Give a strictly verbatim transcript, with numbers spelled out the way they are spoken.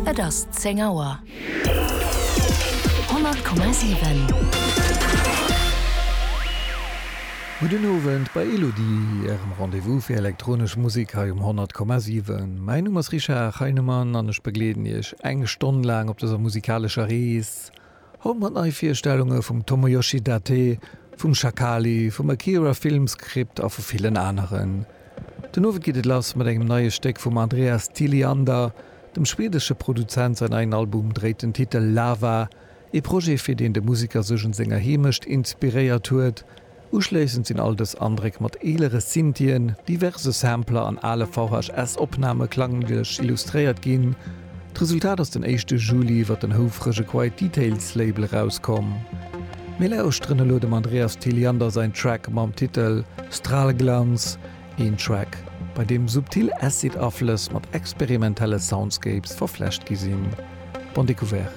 Et ass zéng Auer. Honnert Komma siwen. Gudden Owend bei Elodie, Ärem Rendez-vous fir elektronesch Musek hei um honnert Komma siwen. Mäin Numm ass Richard Heinemann an ech begleeden Iech eng Stonn laang op dëser musikalescher Rees. Haut mat Neivirstellunge vum Tomoyoshi Date, vum Shakali, vum Akira Filmscript a vu villen aneren. Den Owend geet et lass mat engem neie Stéck vum Andreas Tilliander. Dem schwedesche Produzent säin neien Album dréit den Titel Lava, ee Projet fir deen de Museker sech un senger Heemecht inspiréiert huet. Uschléissend sinn all dës Andréck mat eelere Synthien, diverse Sampler an ale V H S Opname klanglech illustréiert ginn. D'Resultat ass den éischte Juli iwwer den houfrege Quiet Details Label erauskomm. Mir lauschteren elo dem Andreas Tilliander säin Track mam Titel Strahlglanz, een Track, bei deem subtil Acid-Aflëss mat experimentelle Soundscapes verflecht gi sinn. Bonne découverte!